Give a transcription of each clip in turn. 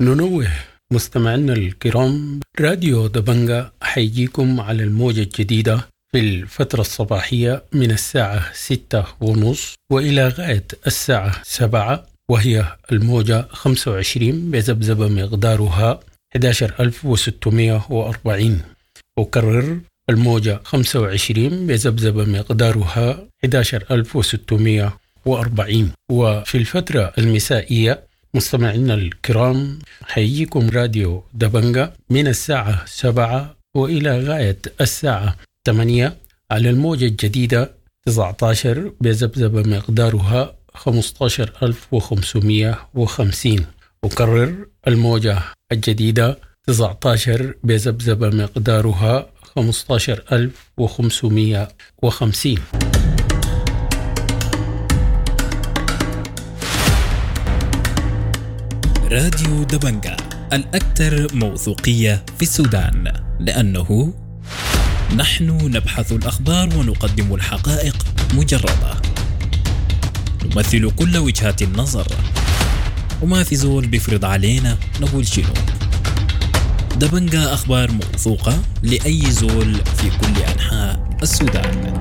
ننوه مستمعينا الكرام، راديو دبنجا حيجيكم على الموجة الجديدة في الفترة الصباحية من الساعة 6:30 وإلى غاية الساعة 7، وهي الموجة 25 بذبذبة مقدارها 11640. أكرر، الموجة 25 بذبذبة مقدارها 11640. وفي الفترة المسائية مستمعينا الكرام حيجيكم راديو دبنجا من الساعة 7 وإلى غاية الساعة 8 على الموجة الجديدة 19 بذبذبة مقدارها 15550. أكرر، الموجة الجديدة 19 بذبذبة مقدارها 15550. راديو دبنجا الأكثر موثوقية في السودان، لأنه نحن نبحث الأخبار ونقدم الحقائق مجردة، نمثل كل وجهات النظر، وما في زول بيفرض علينا نقول شنو. دبنجا أخبار موثوقة لأي زول في كل أنحاء السودان.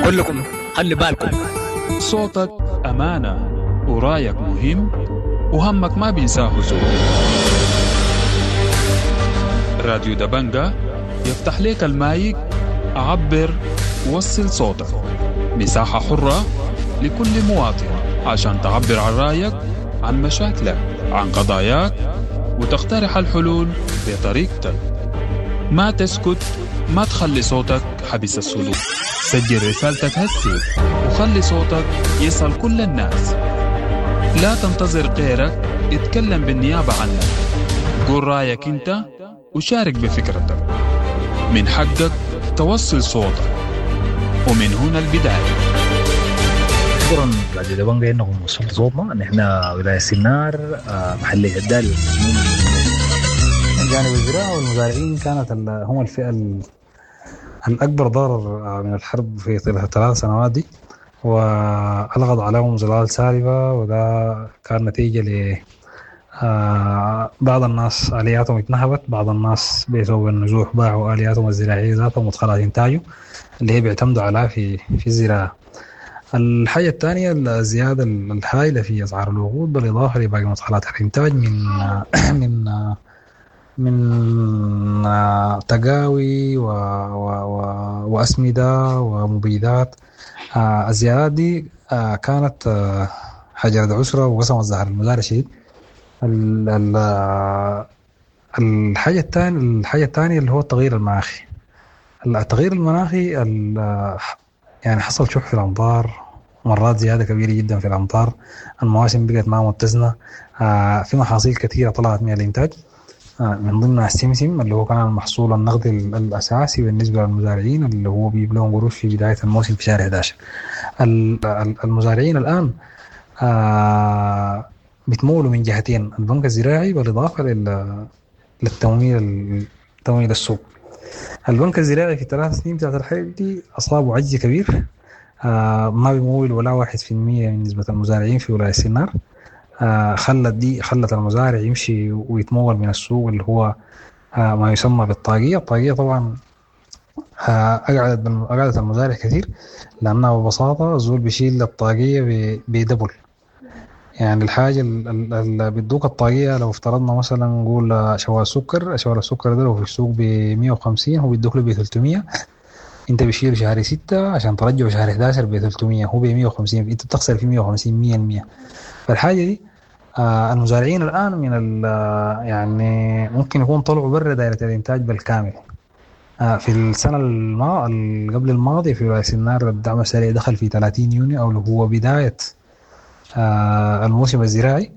كلكم خلي بالكم. صوتك أمانة ورايك مهم وهمك ما بينساه زول. راديو دبنجا يفتح لك المايك، عبر، وصل صوتك. مساحة حرة لكل مواطن عشان تعبر عن رأيك، عن مشاكلك، عن قضاياك، وتقترح الحلول بطريقتك. ما تسكت، ما تخلي صوتك حبس الصدور. سجل رسالتك هسي وخلي صوتك يصل كل الناس. لا تنتظر غيرك يتكلم بالنيابة عنك. قول رأيك انت وشارك بفكرتك. من حقك توصل صوتك، ومن هنا البداية. شكرا راديو دبنجا انكم وصلتوا صوتنا. نحن ولاية سنار، محلية الدالي. من جانب الزراعة والمزارعين كانت هم الفئة الأكبر ضرر من الحرب في طيلة الثلاث سنوات دي، وألغت عليهم ظلال سالبة، وده كان نتيجة ل بعض الناس آلياتهم اتنهبت، بعض الناس بسبب النزوح باعوا آلياتهم الزراعية ذاتهم ومدخلات إنتاجه اللي هي بيعتمدوا عليها في الزراعة. الحاجة الثانية الزيادة الهائلة في أسعار الوقود بالإضافة لباقي مدخلات الإنتاج من من تقاوي و و و وأسمدة ومبيدات. الزيادات دي كانت حجرة عسرة وقسمت زهر المزارع شديد. الحاجة الثانية اللي هو التغيير المناخي. التغيير المناخي يعني حصل شح في الأمطار، مرات زيادة كبيرة جدا في الأمطار، المواسم بقت ما متزنة، في محاصيل كثيرة طلعت من الإنتاج، من ضمنها السمسم اللي هو كان المحصول النقدي الأساسي بالنسبة للمزارعين اللي هو بيجيب لهم قروش في بداية الموسم في شهر 11. المزارعين الآن بتمولوا من جهتين، البنك الزراعي بالإضافة للتمويل تمويل السوق. البنك الزراعي في 3 سنين بتاعت الحرب دي أصابه عجز كبير، ما بيمول ولا 1% من نسبة المزارعين في ولاية سنار. خلت المزارع يمشي ويتمول من السوق اللي هو ما يسمى بالطاقية. الطاقية طبعا أقعدت المزارع كثير، لأنها ببساطة الزول بيشيل الطاقية بدبل. يعني الحاجة اللي بيدوك الطاقية لو افترضنا مثلا نقول شوال سكر، شوال السكر ده لو في السوق ب 150 هو بيدوك له ب 300، انت بتشيله شهر 6 عشان ترجعه شهر 11 ب 300، هو ب 150، انت بتخسر في 150 100%. فالحاجة دي المزارعين الآن من يعني ممكن يكون طلعوا برا دائرة الإنتاج بالكامل. في السنة قبل الماضية في ولاية سنار الدعم السريع دخل في 30 يونيو أو اللي هو بداية الموسم الزراعي،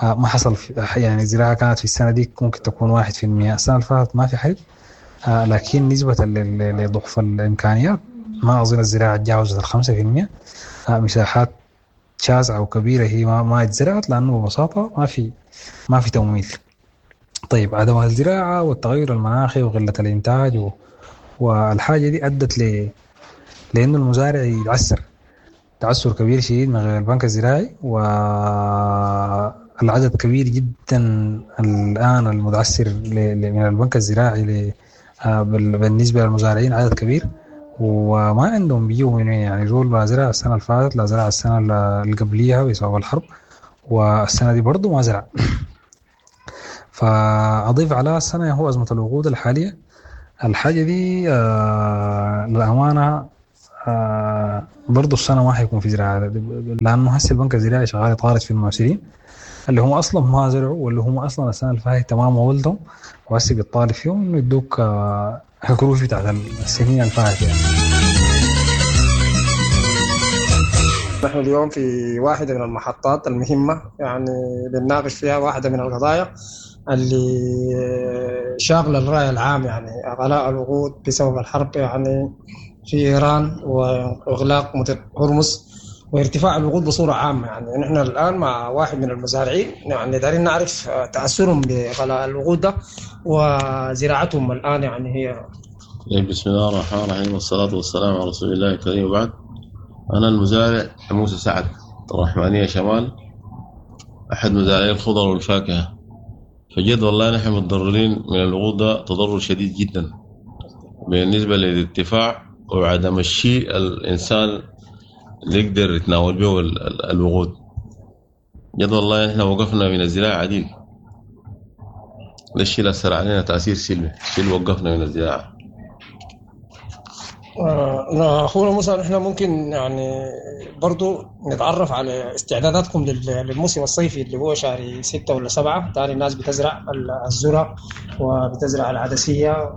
ما حصل يعني الزراعة كانت في السنة دي ممكن تكون 1%. السنة اللي فاتت ما في حرب، لكن نسبة لضعف الإمكانيات ما أظن الزراعة تجاوزت 5%. مساحات شاسعة وكبيرة هي ما اتزرعت لأنه ببساطة ما في تمويل. طيب عدم الزراعة والتغير المناخي وقلة الإنتاج والحاجة دي أدت لأنه المزارع يتعسر. تعثر كبير شديد من غير البنك الزراعي، والعدد كبير جدا الآن المتعثر من البنك الزراعي بالنسبة للمزارعين عدد كبير، وما عندهم بيجوا من وين. يعني زول ما زرع السنة اللي فاتت، لا زرع السنة اللي قبليها بسبب الحرب، والسنة دي برضو ما زرع. فأضيف على السنة هو أزمة الوقود الحالية. الحاجة دي للأمانة برضو السنة ما حيكون في زراعة، لأنه هسه البنك الزراعي شغال يطارد في المعسرين اللي هم أصلا ما زرعوا، واللي هم أصلا السنة اللي فاتت تمام ولدهم، وهسه بيطالب فيهم إنه يدوك الكروش بتاعت السنين اللي فاتت يعني. نحن اليوم في واحدة من المحطات المهمة، يعني بنناقش فيها واحدة من القضايا اللي شاغلة الرأي العام، يعني غلاء الوقود بسبب الحرب يعني في إيران وإغلاق مضيق هرمز وارتفاع الوقود بصورة عامة. يعني نحن الآن مع واحد من المزارعين، يعني دارين نعرف تأثرهم بغلاء الوقود ده وزراعتهم الآن يعني هي. بسم الله الرحمن الرحيم، والصلاة والسلام على رسول الله الكريم، وبعد. أنا المزارع موسى سعد الرحمانية شمال، أحد مزارعي الخضر والفاكهة. فجد والله نحن متضررين من الوقود ده تضرر شديد جدا بالنسبة للارتفاع وعدم الشيء الإنسان اللي يقدر يتناول به الوقود. جد والله نحن وقفنا من الزراعة عديل، ده الشيء اللي أثر علينا تأثير سلبي، الشيء اللي وقفنا من الزراعة. أخونا موسى، نحن ممكن يعني برضو نتعرف على استعداداتكم للموسم الصيفي اللي هو شهر 6 ولا 7. تاني الناس بتزرع الذرة وبتزرع العدسية،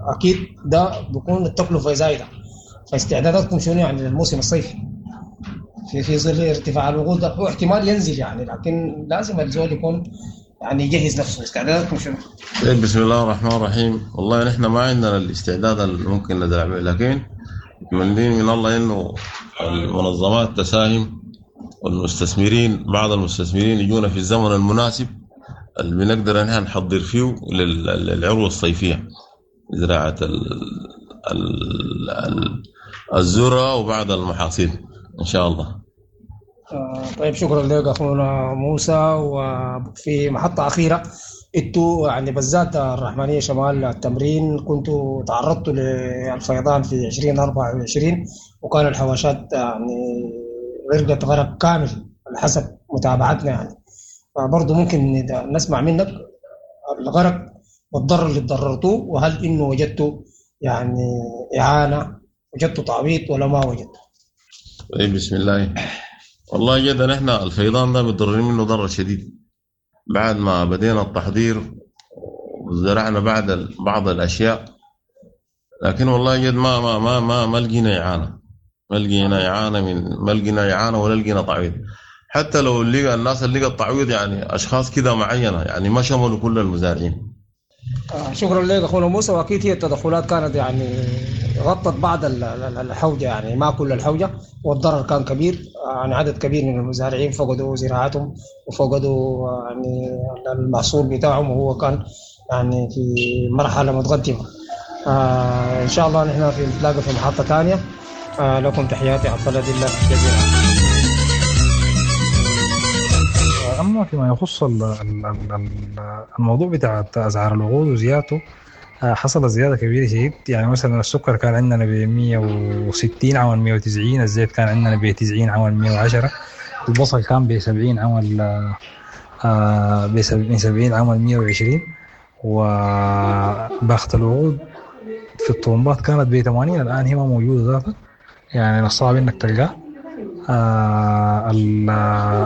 وأكيد ده بيكون التكلفة زايدة، فاستعداداتكم شنو يعني للموسم الصيفي في ظل ارتفاع الوقود ده؟ هو احتمال ينزل يعني، لكن لازم الزول يكون يعني يجهز نفسه. استعداداتكم شنو؟ طيب، بسم الله الرحمن الرحيم. والله نحن ما عندنا الاستعداد اللي ممكن نزرع به، لكن متمنين من الله انه المنظمات تساهم والمستثمرين، بعض المستثمرين يجونا في الزمن المناسب اللي بنقدر نحن نحضر فيه للعروة الصيفية، زراعة الذرة وبعض المحاصيل إن شاء الله. طيب، شكرا لك أخونا موسى. وفي محطة أخيرة، انتوا يعني بالذات الرحمانية شمال التمرين كنتوا تعرضتوا للفيضان في 2024، وكان الحواشات يعني غرقت غرق كامل على حسب متابعتنا يعني، فبرضه ممكن نسمع منك الغرق والضرر اللي تضررتوه، وهل انه وجدتوا يعني إعانة، وجدتوا تعويض ولا ما وجدتوا؟ طيب، بسم الله. والله جدا نحن الفيضان ده متضررين منه ضرر شديد. بعد ما بدينا التحضير وزرعنا بعد بعض الاشياء، لكن والله جد ما ما ما ما ما لقينا اعانه، ما لقينا اعانه من ما لقينا اعانه ولا لقينا تعويض. حتى لو لقى الناس اللي لقى التعويض يعني اشخاص كده معينه، يعني ما شملوا كل المزارعين. شكرا لك اخونا موسى. واكيد هي التدخلات كانت يعني غطت بعض الحوجه، يعني ما كل الحوجه، والضرر كان كبير، يعني عدد كبير من المزارعين فقدوا زراعتهم وفقدوا يعني المحصول بتاعهم، وهو كان يعني في مرحله متقدمه. ان شاء الله نحن في نتلاقى في محطه ثانيه. لكم تحياتي عبد الله دلة جزيلا. اما فيما يخص الموضوع بتاع اسعار الوقود وزيادته، حصلت زيادة كبيرة شديد. يعني مثلا السكر كان عندنا ب 160 عمل 190، الزيت كان عندنا ب 90 عمل 110، البصل كان ب 70 عمل ب 70 عمل 120، وباخة الوقود في الطرمبات كانت ب 80، الآن هي ما موجودة ذاتها، يعني الصعب إنك تلقاه.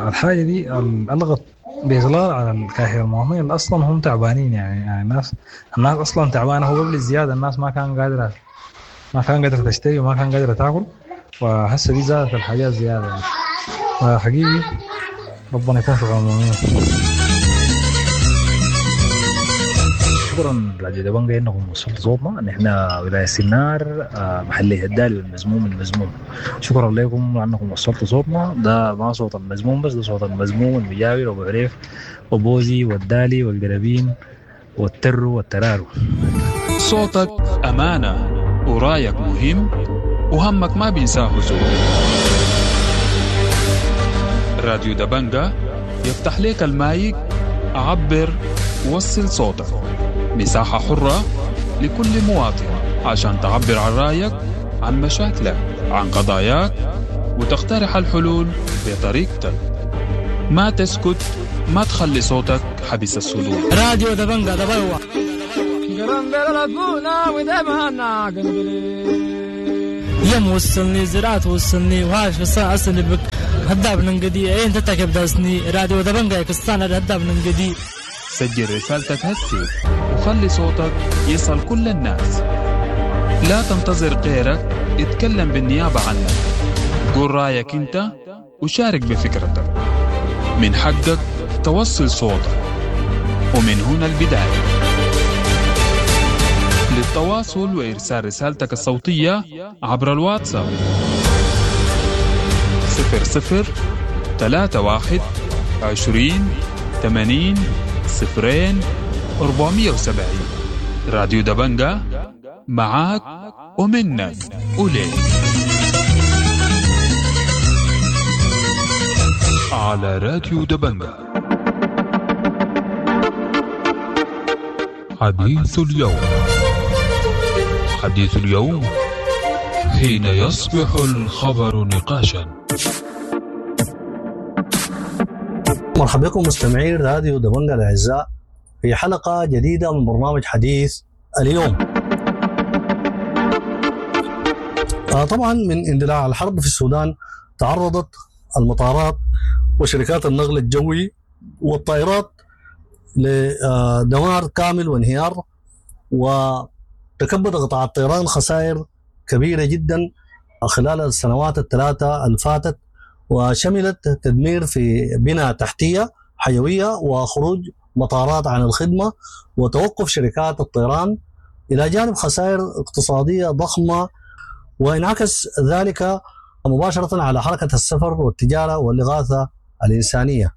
الحاجة دي ألغت بإغلال على الكاهل المواطنين اللي أصلا هم تعبانين. يعني الناس أصلا تعبانة، هو قبل الزيادة الناس ما كان قادرة تشتري وما كان قادرة تاكل، وهسه دي زادت الحاجات زيادة يعني. فحقيقي ربنا يكون في عون المؤمنين. شكرا راديو دبنجة انكم وصلتوا صوتنا. نحن ولاية سنار، محلية الدالي والمزموم المزموم. شكرا لكم لانكم وصلتوا صوتنا. ده ما صوت المزموم بس، ده صوت المزموم المجاور وابو عريف وبوزي والدالي والقرابين والترو والترارو. صوتك أمانة ورايك مهم وهمك ما بينساه زول. راديو دبنجة يفتح لك المايك، عبر، وصل صوتك. مساحة حرة لكل مواطن عشان تعبر عن رأيك، عن مشاكلك، عن قضاياك، وتقترح الحلول بطريقتك. ما تسكت، ما تخلي صوتك حبس الصدور. راديو دبنجة دبلوة. يم وصلني زراعة وصلني وهاش بس أصلي بك هداب ننقدي أين تتكب داسني راديو دبنجة كستانا هداب ننقدي. سجل رسالتك هسي وخلي صوتك يصل كل الناس. لا تنتظر غيرك يتكلم بالنيابة عنك. قول رأيك انت وشارك بفكرتك. من حقك توصل صوتك، ومن هنا البداية. للتواصل وإرسال رسالتك الصوتية عبر الواتساب 00 31 20 80 0 470. راديو دبنجة معاك ومنك وليك على راديو دبنجة. حديث اليوم، حديث اليوم حين يصبح الخبر نقاشا. مرحبا بكم مستمعي راديو دبنجة الأعزاء في حلقة جديدة من برنامج حديث اليوم. طبعا من اندلاع الحرب في السودان تعرضت المطارات وشركات النقل الجوي والطائرات لدمار كامل وانهيار، وتكبد قطاع الطيران خسائر كبيرة جدا خلال السنوات الثلاثة الفاتت، وشملت تدمير في بنى تحتية حيوية وخروج مطارات عن الخدمة وتوقف شركات الطيران، إلى جانب خسائر اقتصادية ضخمة، وانعكس ذلك مباشرة على حركة السفر والتجارة والإغاثة الإنسانية.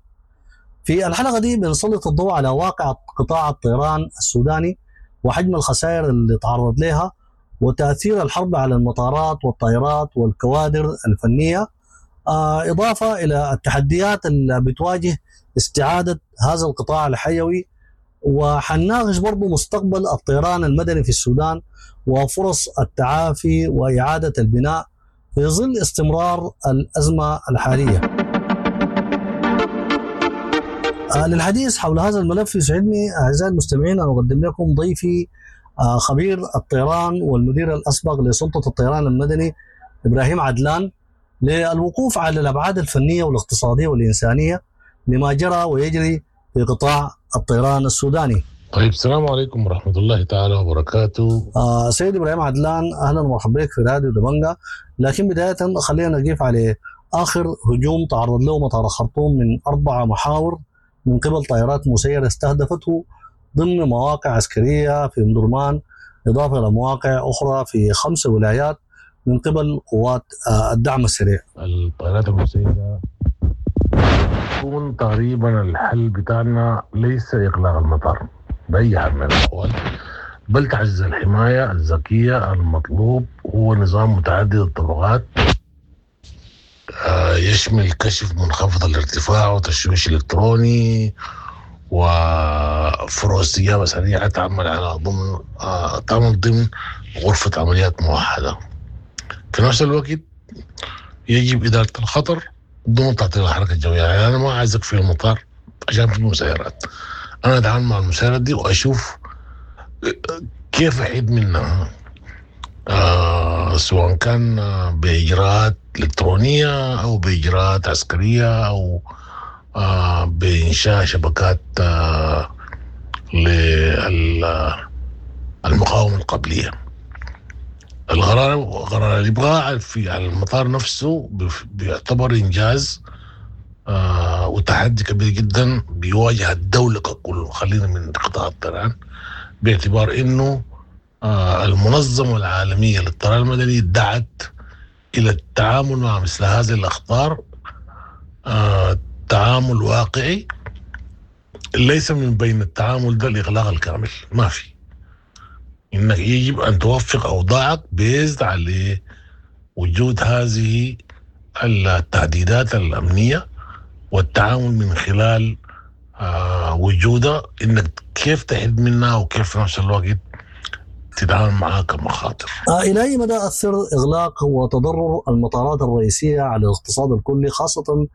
في الحلقة دي بنسلط الضوء على واقع قطاع الطيران السوداني وحجم الخسائر اللي تعرض لها وتأثير الحرب على المطارات والطائرات والكوادر الفنية، إضافة إلى التحديات اللي بتواجه استعادة هذا القطاع الحيوي. وحنناقش برضو مستقبل الطيران المدني في السودان وفرص التعافي وإعادة البناء في ظل استمرار الأزمة الحالية. للحديث حول هذا الملف يسعدني أعزائي المستمعين أن أقدم لكم ضيفي خبير الطيران والمدير الأسبق لسلطة الطيران المدني إبراهيم عدلان، للوقوف على الأبعاد الفنية والاقتصادية والإنسانية لما جرى ويجري في قطاع الطيران السوداني. طيب، السلام عليكم ورحمة الله تعالى وبركاته. سيد إبراهيم عدلان، أهلا ومرحبا بك في راديو دبنجة. لكن بداية خلينا نقف على آخر هجوم تعرض له مطار الخرطوم من 4 محاور من قبل طائرات مسيرة استهدفته ضمن مواقع عسكرية في أم درمان، إضافة إلى مواقع أخرى في 5 ولايات من قبل قوات الدعم السريع. الطائرات المسيرة يكون تقريبا الحل بتاعنا ليس إغلاق المطار بأي حال من الأحوال، بل تعزيز الحماية الذكية. المطلوب هو نظام متعدد الطبقات يشمل كشف منخفض الارتفاع وتشويش إلكتروني وفروع استجابة سريعة تعمل على ضمن تعمل ضمن غرفة عمليات موحدة. في نفس الوقت يجب إدارة الخطر دون تعطيل الحركة الجوية. يعني أنا ما عايزك في المطار عشان في مسيرات، أنا أتعامل مع المسيرات دي وأشوف كيف أحيد منها، سواء كان بإجراءات إلكترونية أو بإجراءات عسكرية أو بإنشاء شبكات للمقاومة القبلية. القرار قرار الإبقاء في على المطار نفسه بيعتبر إنجاز وتحدي كبير جدا بيواجه الدولة ككل، خلينا من قطاع الطيران، باعتبار إنه المنظمة العالمية للطيران المدني دعت إلى التعامل مع مثل هذه الأخطار تعامل واقعي، ليس من بين التعامل ده الإغلاق الكامل. ما في، إنك يجب أن توفق أوضاعك بيزد على وجود هذه التهديدات الأمنية والتعامل من خلال وجودها، انك كيف تحد منها وكيف في نفس الوقت تتعامل معها كمخاطر. الى اي مدى اثر اغلاق وتضرر المطارات الرئيسية على الاقتصاد الكلي، خاصة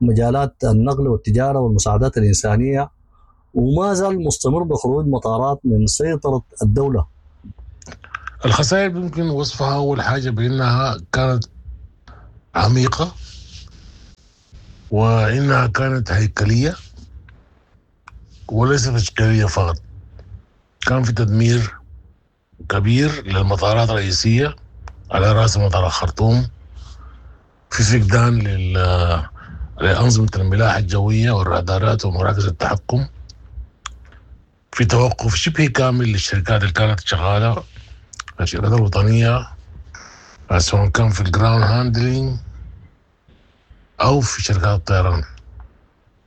مجالات النقل والتجارة والمساعدات الانسانية، وما زال مستمر بخروج مطارات من سيطرة الدولة؟ الخسائر يمكن وصفها اول حاجة بانها كانت عميقة، وانها كانت هيكلية وليست تشكيليه فقط. كان في تدمير كبير للمطارات الرئيسية، على راس مطار الخرطوم، في فقدان لأنظمة الملاحة الجوية والرادارات ومراكز التحكم، في توقف شبه كامل للشركات اللي كانت شغالة، الشركات الوطنية، سواء كان في ال ground handling أو في شركات الطيران.